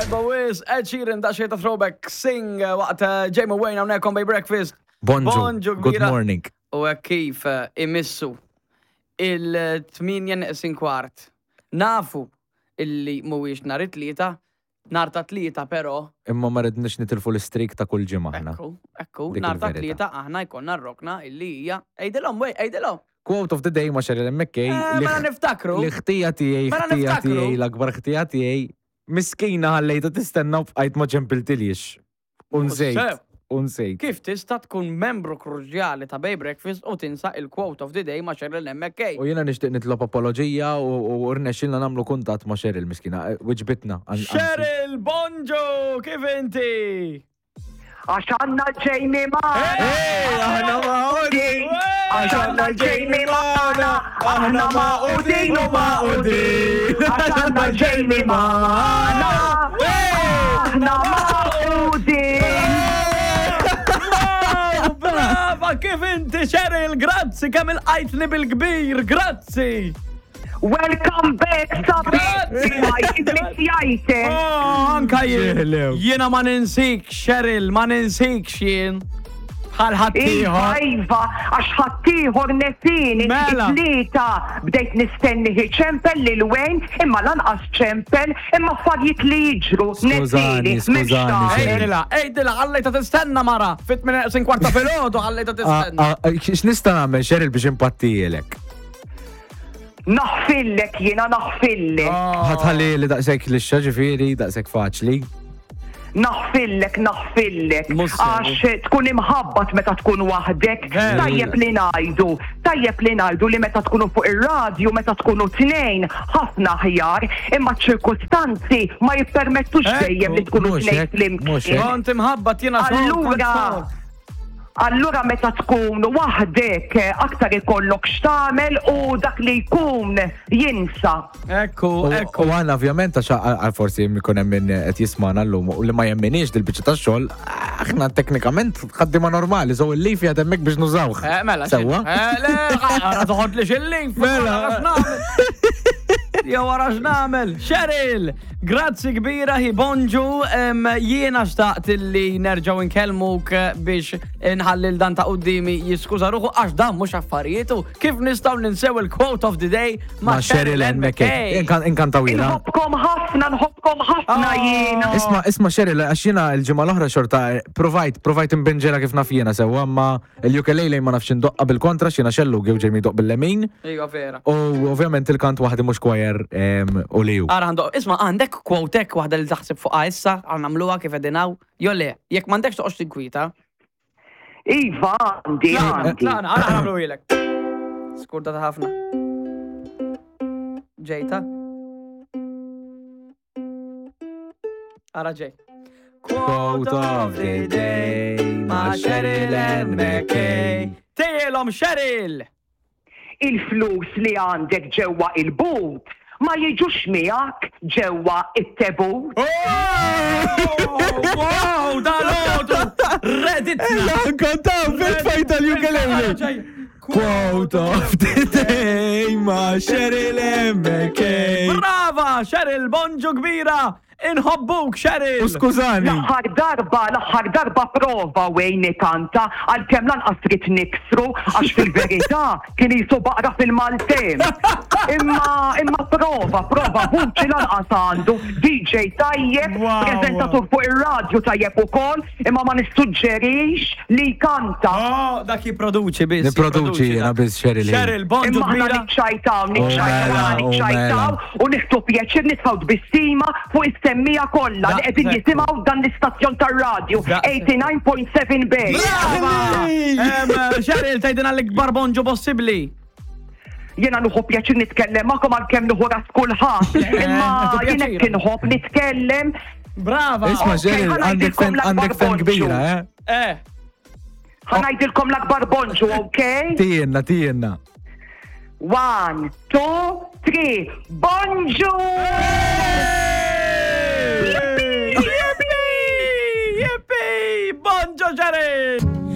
Tajba wis, Ed Sheeran da xejn ta' throwback sing eh, waqt eh, Jamie Wayne hawnhekk on Bay Breakfast. Bonġu. Bonġu Good kbira. morning. U hekk kif eh, imissu il-8 neqsin kwart. Nafu illi mhuwiex nhar it-tlieta, nhar ta' tlieta però Imma ma ridniex nitilfu l-istrik ta' kull ġimgħa aħna. Ekku, ekku, Dik nhar ta' il-verità. tlieta aħna jkollna r-rokna illi hija għidilhom wej, għidilhom. Quote of the day ma' Cheryl McKay. Eh, li Mela niftakru. Li ħtija tiegħi, Mela ħtija niftakru. tiegħi, l-akbar ħtija tiegħi. Miskina ħallejta tistenna u bqajt ma ċempiltilix. Unsejt. Sew. Unsejt. Kif tista' tkun membru kruċjali ta' Bay Breakfast u tinsa il-quote of the day ma' Cheryl McKay? U jiena nixtieq nitlob apoloġija u u rnexxilna nagħmlu kuntatt ma' Cheryl miskina. Eh, Wiġbitna. An- anzi. Cheryl, bonġu, kif inti? Għax għanna Jamie magħna. Ej, aħna magħqudin. Għax għanna Jamie magħna. Aħna magħqudin u magħqudin. Għax għanna Jamie magħna. Aħna magħqudin. Wow, brava, kif inti Cheryl, grazzi kemm il-qajtni bil-kbir, grazzi. Welcome back, sabi. Grazzi. Missjajte. Oh, anka jien. Ġeħlew. Jiena ma ninsik, Cheryl, ma ninsik jien. Bħal Iva, ħaddieħor. Iva, għax ħaddieħor nesini, Mela. it-tlieta bdejt nistenni ċempel lil Wayne, imma lanqas ċempel, imma affarijiet li jiġru, Skużani, nesini, m'hemmx skużani, tagħmel. Cheryl. Ejdila, ejdila, ħallejta tistenna mara. Fit minn sin kwarta filgħodu ħallejta Ah, tistenna. ah, X'nista' nagħmel Cheryl biex impattijilek? Naħfillek jiena naħfillek. Oh. Ħatħalli li daqshekk lixxa ġifieri, daqshekk faċli. Naħfillek, naħfillek. Mhux sew. Għax tkun imħabbat meta tkun waħdek. Veru. Tajjeb li ngħidu, tajjeb li ngħidu li meta tkunu fuq ir-radju, meta tkunu tnejn, ħafna aħjar, imma ċ-ċirkustanzi ma jippermettux Ekku, dejjem li tkunu mhux tnejn hekk, mhux flimkien. hekk. Kont imħabbat jiena xogħol, kont Allura, xogħol. allura meta tkun waħdek aktar ikollok x'tagħmel u dak li jkun jinsa. Ekku, U ekku. u għana ovvjament għax għal forsi jkun hemm min qed jismana llum u li ma jemminix dil-biċċa tax-xogħol, aħna teknikament ħaddiema normali, so il-lif jgħad hemmhekk biex nużawh. Eh, mela, Sewwa? Eh, le, għara toħod li xillin. Mela. Jew wara x'nagħmel. Cheryl, grazzi kbira hi bonġu, em, jiena xtaqt li nerġgħu nkellmuk biex nħallil dan ta' qudiemi jiskuża ruħu għax dan mhux affarijietu. Kif nistgħu ninsew il-quote of the day Ma' Cheryl Ann McKay. Inkantawila. Inħobbkom ħafna, nħobbkom ħafna Oh. jiena. Isma, isma Cheryl, għax jiena l-ġimgħa l-oħra xorta eh, provajt, provajt imbinġela kif naf jiena sewwa, ma l-ukulele ma nafx indoqqa bil-kontra x'jiena xellu gew ġejmi doq bil-lemin. Ejwa vera. U ovvjament il-kant waħdi mhux choir em, u li ju. Ara għandu, isma għandek quote waħda li taħseb fuqha issa, għan nagħmluha kif qegħdin hawn. Jo le, jekk m'għandekx toqgħodx tinkwita. Iva, għandi, għandi. Tlaqna, għara għamlu ilek. Skurdata ħafna. Ġejta. Ara ġej. Quote of the day ma' Cheryl Ann McKay. Tejjelhom Cheryl! Il-flus li għandek ġewwa il-but ma jiġux miegħek ġewwa it-tebut. Oh, Wow, dal-għodu! Redditna! Kontaw, fil-fajt tal-ukulele. Quote of the day ma' Cheryl Ann McKay. Brava, Cheryl, bonġu kbira! Inħobbuk, Cheryl! U skużani. L-aħħar darba, l-aħħar darba prova Wayne ikanta għalkemm lanqas trid niksru għax fil-verità kien jisu baqra fil-Maltem. Imma imma prova, prova vuċi lanqas għandu DJ tajjeb, Wow. preżentatur fuq ir-radju tajjeb ukoll, imma ma nissuġġerix li jkanta. Oh, dak jipproduċi biss. Nipproduċi jiena dak. biss, Cheryl. Cheryl, bonġu Imma aħna kbira. niċċajtaw, Oh, niċċajtaw, mela, aħna oh, niċċajtaw mela. u nieħdu pjaċir nitfgħu tbissima fuq is-semmija kollha li qegħdin Daqshekk. jisimgħu dan l-istazzjon tar-radju Daqshekk. 89.7 Bay. Brava! Em, Cheryl, tgħidilna l-ikbar bonġu possibbli. Jiena nieħu pjaċir nitkellem magħkom għalkemm nieħu ras kulħadd. Imma nieħdu jien pjaċir. hekk inħobb nitkellem. Brava! Isma' Ok, Cheryl, ħa għandek ngħidilkom fen l-akbar għandek fen bonġu. kbira, eh? Eh, Ħa ngħidilkom l-akbar bonġu, okay? Tijenna, tijenna. One, two, three. Bonġu!